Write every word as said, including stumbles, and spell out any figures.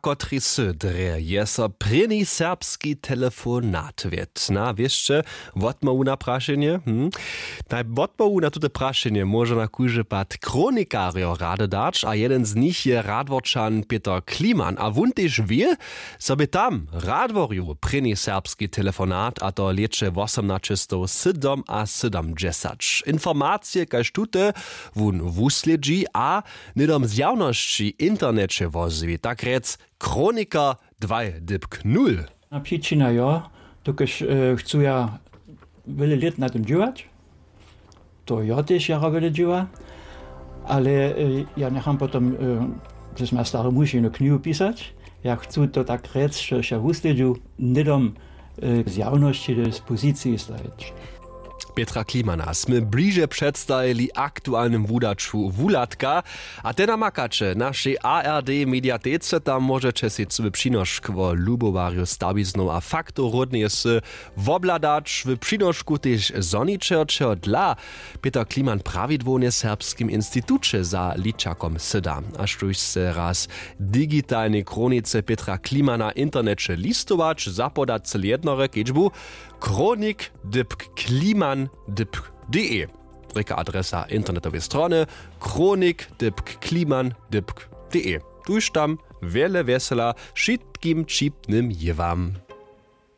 kotrej sy drje je so prěni serbski telefonat wět na wěsće? Wotmołwu na prašenje hm? Naj wotmołwu na tute prašenje móže na kóždy pad kronikarjo rady dać a jeden z nich je radworčan peter kliman a wón tež wě, zo bě tam w radworju prěni serbski telefonat a to lěće wosomnaćestowsydomasydomdźesać informacije kaž tute wón wuslědźi a hnydom zjawnosći w interneće wozwi tak rjec kroniker dwaj dypk nul. A přičina jo, dokelž chcu ja wjele lět na tym dźěłać, to jo tež jara wjele dźěła, ale ja njecham potom, że smy ja stary muž jenu knihu pisać. Ja chcu to tak rjec, žož ja wuslědźu hnydom zjawnosći do dispoziciji stajeć. Petra klimana smy bliže předstajili aktualnym wudaću wuhladka. A te namakaće w našej ard mediatece tam móžeće sej cyły přinošk wo lubowarju stawiznow a faktow ródneje sy wobhladać w přinošku tež zhoničerčeho dla. Peter kliman prawidłownje w serbskim instituće za ličakom syda a štóž sce raz w digitalnej kronice petra klimana w interneće listować zapoda cyle jednore kedźbu kronik dypk kliman dypk de. Rěka adresa internetowej strony kronik dypk kliman dypk de. Tuž tam wjele wjesela wšitkim ćipnym jěwam.